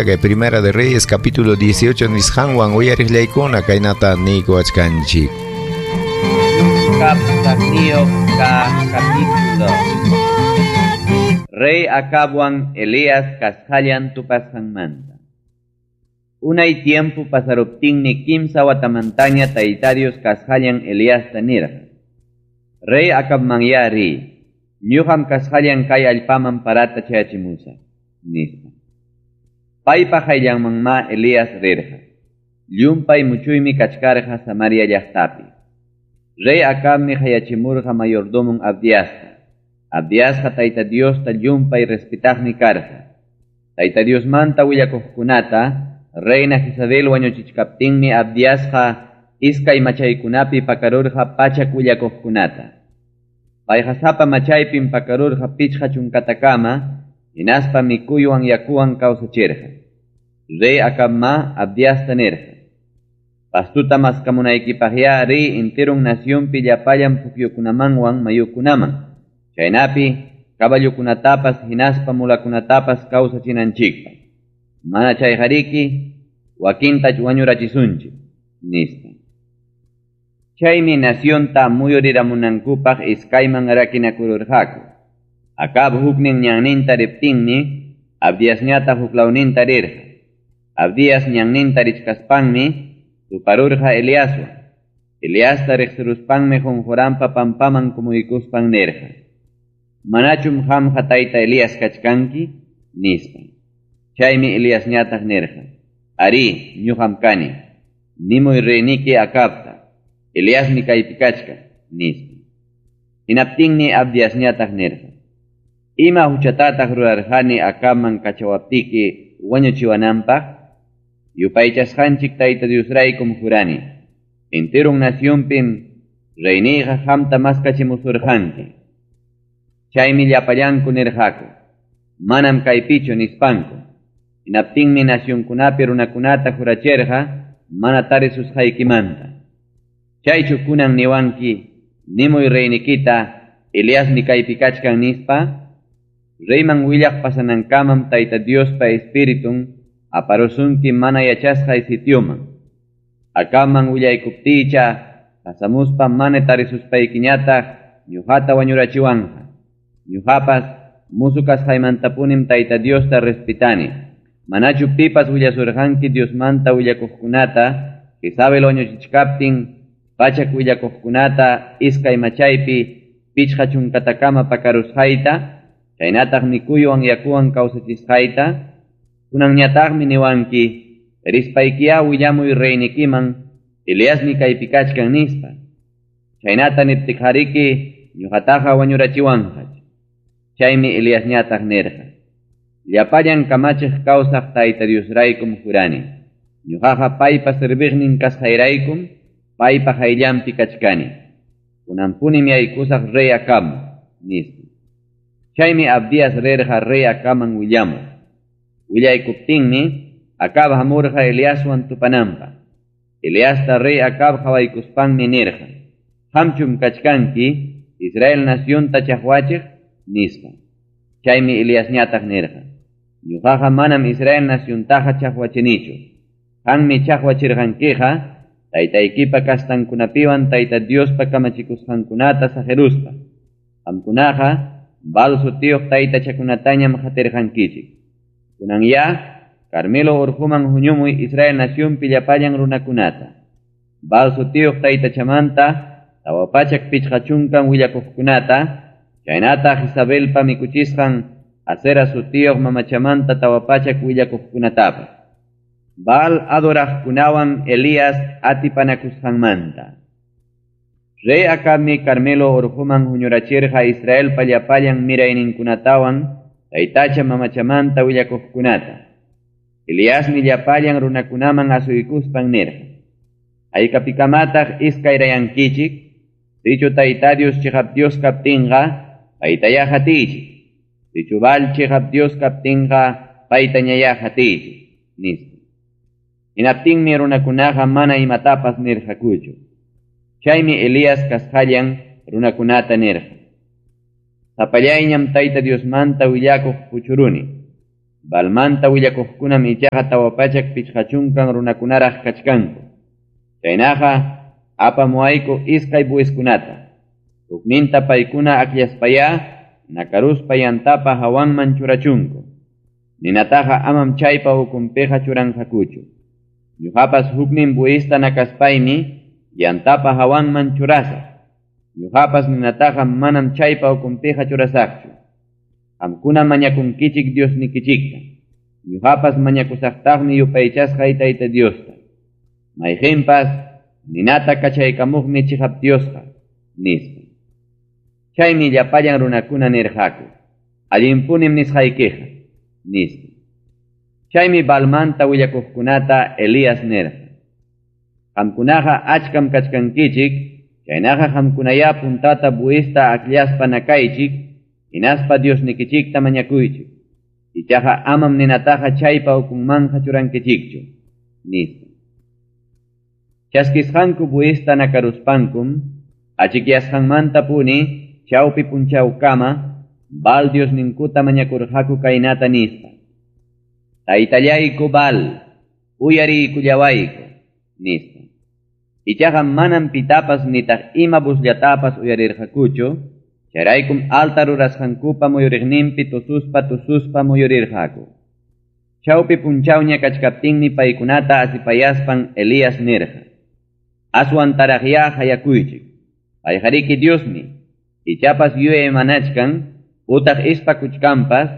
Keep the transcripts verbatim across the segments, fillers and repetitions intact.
kay Primera de Reyes capítulo dieciocho nisqanwan uyariqllaykuna kaynata niykuwachkanchik. Capítulo. Rey Acabwan Elías kasqallan tupasqanmanta. Unay tiempo pasaruptinmi kimsa watamantaña Tayta Dios kasqallan Eliasta nirqa. Rey Acabmanyá riy, ñuqam kasqallan kay allpaman parata chayachimusaq, nispa. Paypa hayllanmanmá Elías rirqa. Llumpay muchuymi kachkarqa Samaria llaqtapi. Rey Acabmi hayachimurqa mayordomon Abdiasta. Abdiasqa Tayta Diosta llumpay respetaqmi karqa. Tayta Diosmanta willakuqkunata Reina Jezabel wañuchichkaptinmi Abdiasqa iskay machaykunapi pakarurqa pachak willakuqkunata. Payqa sapa machaypim pakarurqa pichqa chunkatakama, hinaspa mikuywan yakuwan kawsachirqa. Rey Acabma Abdiasta nirqa: Pastuta maskamunaykipaqyá riy enteron nacionpi llapallan pukyukunamanwan mayukunaman, chaynapi caballokunatapas hinaspa mulakunatapas kawsachinanchikpaq. Mana chayqariki wakinta wañurachisunchik, nispa. Chaymi nacionta muyuriramunankupaq iskayman rakinakururqaku. Acab huknin ñanninta riptinmi Abdiasñataq huklawninta rirqa. Abdias ñanninta richkaspanmi tuparurqa Eliaswan. Eliasta riqsiruspanmi qunquranpa pampaman kumuykuspan nirqa: Manachum qamqa tayta Elías kachkanki, nispa. Chaymi Eliasñataq nirqa: Arí, ñuqam kani. Nimuy reyniki Acabta. Eliasmi kaypi kachkan, nispa. Hinaptinmi Abdiasñataq nirqa: Ima huchatataq rurarqani Acabman kachawaptiki wañuchiwananpaq? Yupaychasqanchik Tayta Diosraykum jurani. Enteron nacionpim reyniyqa qamta maskachimusurqanki. Chaymi llapallanku nirqaku: Manam kaypichu, nispanku. Hinaptinmi nacionkunapi runakunata jurachirqa mana tarisusqaykimanta. Chaychu kunan niwanki, nimuy reynikita, Eliasmi kaypi kachkan, nispa? Reyman willaq pasanankamam Tayta Diospa Espiritun aparusunki mana yachasqay sitioman. Acabman willaykuptiycha pasamuspa mana tarisuspaykiñataq ñuqata wañurachiwanqa. Ñuqapas musu kasqaymantapunim Tayta Diosta respetani. Manachu pipas willasurqanki Diosmanta willakuqkunata, Jezabel wañuchichkaptin pachak willakuqkunata iskay machaypi pichqa chunkatakama pakarusqayta, chaynataq mikuywan yakuwan kawsachisqayta? Kunanñataqmi niwanki, rispaykiyá willamuy reynikiman, Eliasmi kaypi kachkan, nispa. Chaynata niptiqariki ñuqataqa wañurachiwanqach. Chaymi Eliasñataq nirqa: Llapallan kamachiq kawsaq Tayta Diosraykum jurani. Ñuqaqa paypa serviqnin kasqayraykum paypa hayllanpi kachkani. Kunanpunim yaykusaq rey Acabman, nispa. Chaymi Abdias rirqa rey Acabman willamuq. Willaykuptinmi Acab hamurqa Eliaswan tupananpaq. Eliasta rey Acab qhawaykuspanmi nirqa: Qamchum kachkanki Israel nacionta chaqwachiq, nispa. Chaymi Eliasñataq nirqa: Ñuqaqa manam Israel naciontaqa chaqwachinichu. Qanmi chaqwachirqankiqa taytaykipa kastankunapiwan Tayta Diospa kamachikusqankunata saqiruspa. Qamkunaqa Baal sutiyuq taytachakunatañam qatirqankichik. Kunanyá Carmelo urquman huñumuy Israel nacionpi llapallan runakunata. Baal sutiyuq taytachamanta tawa pachak pichqa chunkan willakuqkunata, chaynataq Jezabelpa mikuchisqan Asera sutiyuq mamachamanta tawa pachak willakuqkunatapas. Baal adoraqkunawan Elías atipanakusqanmanta. Rey Acabmi Carmelo urquman huñurachirqa Israelpa llapallan mirayninkunatawan taytacha mamachamanta willakuqkunata. Eliasmi llapallan runakunaman asuykuspan nirqa: Haykapikamataq iskayrayankichik? Sichu Tayta Dios chiqap Dios kaptinqa, paytayá hatiychik. Sichu Baal chiqap Dios kaptinqa, paytañayá hatiychik, nispa. Hinaptinmi runakunaqa mana imatapas nirqakuchu. Chaymi Elías kasqallan runakunata nirqa: Sapallayñam Tayta Diosmanta willakuq puchuruni. Baalmanta willakuqkunam ichaqa tawa pachak pichqa chunkan runakunaraq kachkanku. Chaynaqa apamuwayku iskay buwiskunata. Hukninta paykuna akllaspayá nakaruspa yantapa hawanman churachunku. Ninataqa amam chaypa ukunpiqa churanqakuchu. Ñuqapas huknin buwista nakaspaymi yantapa hawanman churasaq. Ñuqapas ninataqa manam chaypa ukunpiqa churasaqchu. Qamkuna mañakunkichik Diosnikichikta. Ñuqapas mañakusaqtaqmi yupaychasqay Tayta Diosta. Mayqinpas ninata kachaykamuqmi chiqap Diosqa, nispa. Chaymi llapallan runakuna nirqaku: Allinpunim nisqaykiqa, nispa. Chaymi Baalmanta willakuqkunata Elías nirqa: Qamkunaqa achkam kachkankichik, chaynaqa qamkunayá puntata buwista akllaspa nakaychik, hinaspa Diosnikichikta mañakuychik. Ichaqa amam ninataqa chaypa ukunmanqa churankichikchu, nispa. Chaskisqanku buwista nakaruspankum, achikyasqanmanta puni chawpi punchawkama Baal Diosninkuta mañakurqaku kaynata nispa: Taytallayku Baal, uyariykullawayku, nispa. Ichaqa manam pitapas nitaq ima busllatapas uyarirqakuchu, chayraykum altar rurasqankupa muyuriqninpi tususpa tususpa muyurirqaku. Chawpi punchawña kachkaptinmi paykunata asipayaspan Elías nirqa: Aswan taraqyá hayakuychik, payqariki Diosmi, ichapas yuyaymanachkan, utaq ispakuchkanpas,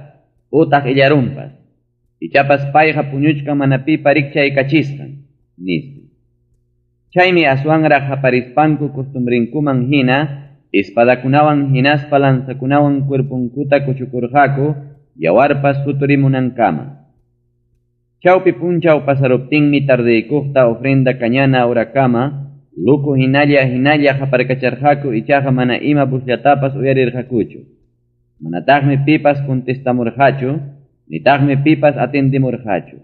utaq illarunpas, ichapas payqa puñuchkan mana pipa rikchaykachisqan, nispa. Chaymi aswanraq haparispanku costumbrinkuman hina, espadakunawan hinaspa lanzakunawan cuerpunkuta kuchukurqaku, yawarpas suturimunankama. Chawpi punchaw pasaruptinmi tardeykuqta ofrenda kañana horakama, luku hinalla hinalla haparkacharqaku ichaqa mana ima busllatapas uyarirqakuchu. Manataqmi pipas contestamurqachu, nitaqmi pipas atendimurqachu.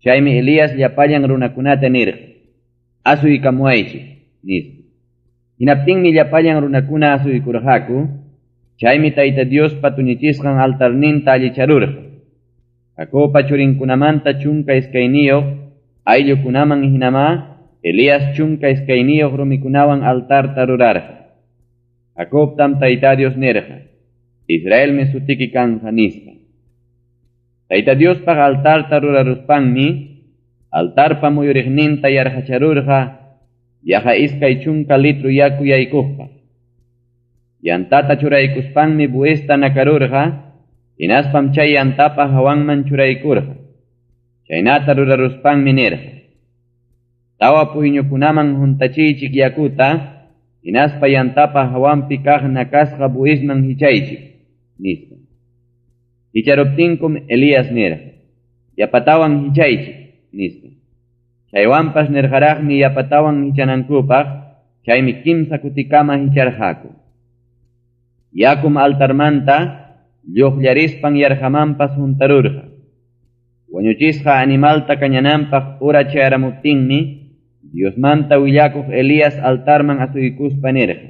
Chaymi Elías llapallan runakunata nirqa: Asuykamuwaychik, nispa. Hinaptinmi llapallan runakuna asuykurqaku, chaymi Tayta Diospa tuñichisqan altarninta allicharurqa. Jacobpa churinkunamanta chunka iskayniyuq ayllukunaman hinamá Elías chunka iskayniyuq rumikunawan altarta rurarqa. Jacobtam Tayta Dios nirqa: Israelmi sutiki kanja, nispa. Tayta Diospaq altarta ruraruspanmi altarpa muyuriqninta yarqacharurqa yaqa iskay chunka litro yaku yaykuqpaq. Yantata churaykuspanmi buwista nakarurqa, hinaspam chay yantapa hawanman churaykurqa. Chaynata ruraruspanmi nirqa: Tawa puyñukunaman huntachiychik yakuta, hinaspa yantapa hawanpi kaq nakasqa buwisman hichaychik, nispa. Hicharuptinkum Elías nirqa: Yapatawan hichaychik, nispa. Chaywanpas nirqaraqmi yapatawan hichanankupaq, chaymi kimsa kutikama hicharqaku. Yakum altarmanta lluqllarispan yarqamanpas huntarurqa. Wañuchisqa animalta kañananpaq hora chayaramuptinmi, Diosmanta willakuq Elías altarman asuykuspa nirqa: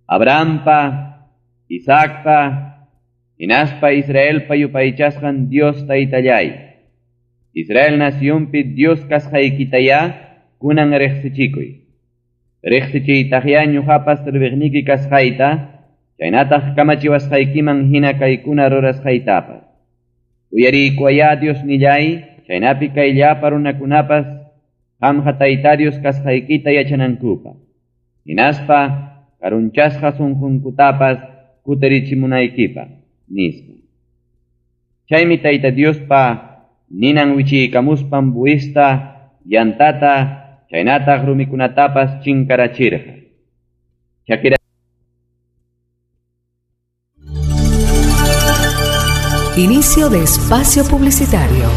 Abrahampa, Isaacpa, hinaspa Israelpa yupaychasqan Dios Taytallay, Israel nacionpi Dios kasqaykitayá kunan riqsichikuy. Riqsichiytaqyá ñuqapas serviqniki kasqayta, chaynataq kamachiwasqaykiman hina kaykuna rurasqaytapas. Uyariykuwayá Diosnillay, chaynapi kay llapa runakunapas qamqa Tayta Dios kasqaykita yachanankupaq. Hinaspa karunchasqa sunqunkutapas kutirichimunaykipaq, nispa. Chaymi Tayta Diospa ninan wichiykamuspan buwista, yantata, chaynataq rumikunatapas chinkarachirqa. Chakira. Inicio de espacio publicitario.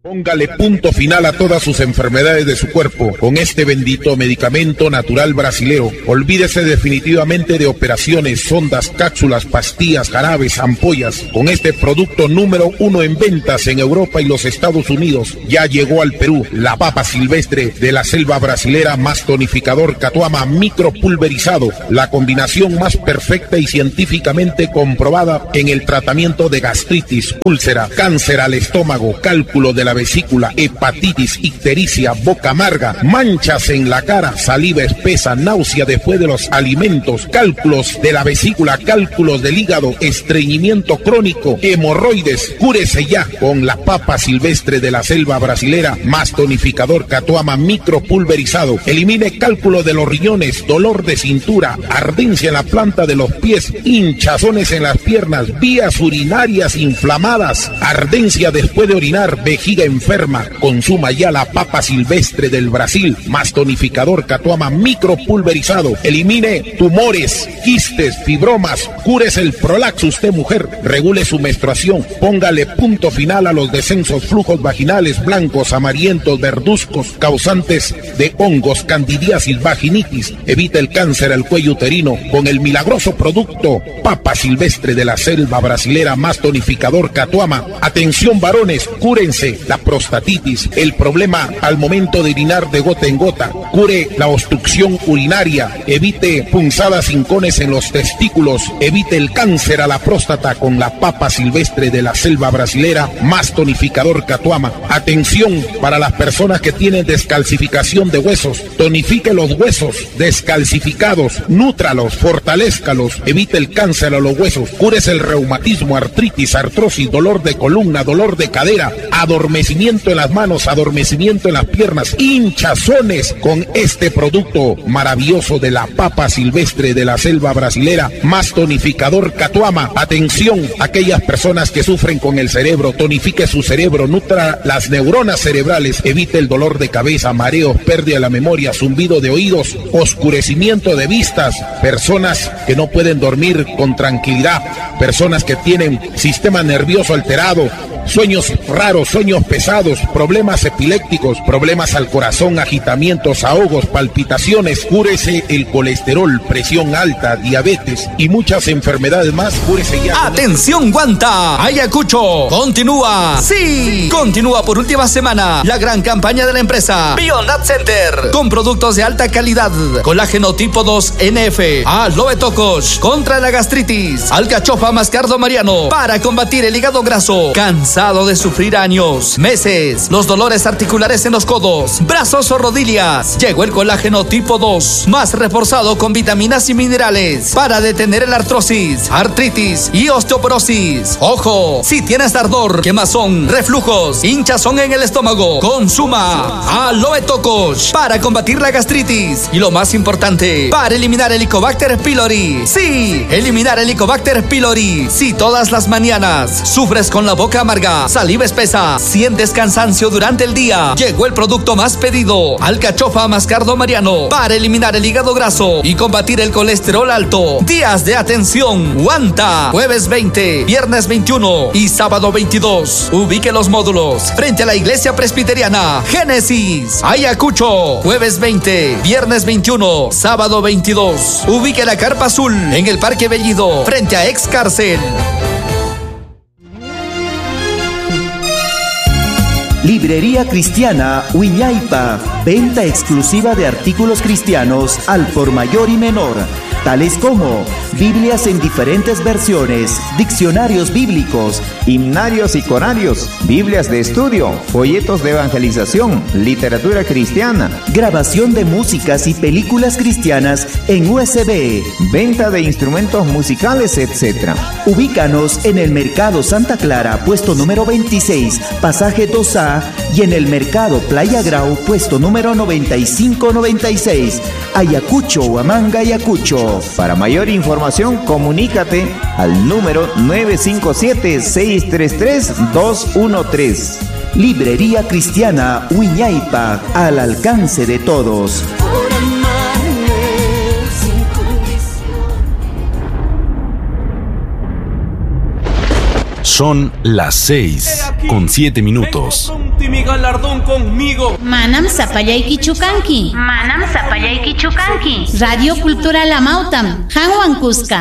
Póngale punto final a todas sus enfermedades de su cuerpo con este bendito medicamento natural brasilero. Olvídese definitivamente de operaciones, sondas, cápsulas, pastillas, jarabes, ampollas. Con este producto número uno en ventas en Europa y los Estados Unidos, ya llegó al Perú la papa silvestre de la selva brasilera más tonificador Catuama micropulverizado, la combinación más perfecta y científicamente comprobada en el tratamiento de gastritis, úlcera, cáncer al estómago, cálculo de la vesícula, hepatitis, ictericia, boca amarga, manchas en la cara, saliva espesa, náusea después de los alimentos, cálculos de la vesícula, cálculos del hígado, estreñimiento crónico, hemorroides. Cúrese ya con la papa silvestre de la selva brasilera más tonificador Catuama micropulverizado. Elimine cálculo de los riñones, dolor de cintura, ardencia en la planta de los pies, hinchazones en las piernas, vías urinarias inflamadas, ardencia después de orinar, vejiga enferma. Consuma ya la papa silvestre del Brasil más tonificador Catuama micropulverizado. Elimine tumores, quistes, fibromas, cúrese el prolaxo usted mujer, regule su menstruación, póngale punto final a los descensos, flujos vaginales blancos, amarillentos, verduzcos, causantes de hongos, candidiasis, vaginitis. Evite el cáncer al cuello uterino con el milagroso producto papa silvestre de la selva brasilera más tonificador Catuama. Atención varones, cúrense la prostatitis, el problema al momento de orinar de gota en gota, cure la obstrucción urinaria, evite punzadas hincones en los testículos, evite el cáncer a la próstata con la papa silvestre de la selva brasilera más tonificador Catuama. Atención para las personas que tienen descalcificación de huesos, tonifique los huesos descalcificados, nútralos, fortalézcalos, evite el cáncer a los huesos, cúrese el reumatismo, artritis, artrosis, dolor de columna, dolor de cadera, adormecimiento en las manos, adormecimiento en las piernas, hinchazones con este producto maravilloso de la papa silvestre de la selva brasilera más tonificador Catuama. Atención, aquellas personas que sufren con el cerebro, tonifique su cerebro, nutra las neuronas cerebrales, evite el dolor de cabeza, mareos, pérdida de la memoria, zumbido de oídos, oscurecimiento de vistas, personas que no pueden dormir con tranquilidad, personas que tienen sistema nervioso alterado, sueños raros, sueños pesados, problemas epilépticos, problemas al corazón, agitamientos, ahogos, palpitaciones. Cúrese el colesterol, presión alta, diabetes y muchas enfermedades más. Cúrese ya. ¡Atención, Guanta! Ayacucho continúa. ¡Sí! Continúa por última semana la gran campaña de la empresa Bionat Center con productos de alta calidad. Colágeno tipo dos N F, aloe tocos contra la gastritis, alcachofa mascardo mariano para combatir el hígado graso. Cansado de sufrir años, meses, los dolores articulares en los codos, brazos o rodillas. Llegó el colágeno tipo dos, más reforzado con vitaminas y minerales para detener el artrosis, artritis y osteoporosis. Ojo, si tienes ardor, quemazón, reflujos, hinchazón en el estómago, consuma aloe tocos para combatir la gastritis y lo más importante, para eliminar el Helicobacter pylori. Sí, eliminar el Helicobacter pylori. Si todas las mañanas sufres con la boca amarga, saliva espesa, sientes cansancio durante el día, llegó el producto más pedido, alcachofa mascardo mariano, para eliminar el hígado graso y combatir el colesterol alto. Días de atención, Huanta, jueves veinte, viernes veintiuno y sábado veintidós. Ubique los módulos frente a la iglesia presbiteriana Génesis, Ayacucho, jueves veinte, viernes veintiuno, sábado veintidós. Ubique la carpa azul en el Parque Bellido, frente a ex cárcel. Librería Cristiana Huiñaipa, venta exclusiva de artículos cristianos al por mayor y menor, tales como Biblias en diferentes versiones, diccionarios bíblicos, himnarios y corarios, Biblias de estudio, folletos de evangelización, literatura cristiana, grabación de músicas y películas cristianas en U S B, venta de instrumentos musicales, etcétera. Ubícanos en el Mercado Santa Clara, puesto número veintiséis, pasaje dos A, y en el Mercado Playa Grau, puesto número noventa y cinco noventa y seis, Ayacucho, Huamanga, Ayacucho. Para mayor información, comunícate al número nueve cinco siete, seis tres tres, dos uno tres. Librería Cristiana Huiñaipa, al alcance de todos. Son las seis con siete minutos. Mi galardón conmigo. Manam sapallaykichu kanki. Manam sapallaykichu kanki. Radio Cultural Amautam. Hanwan kuska.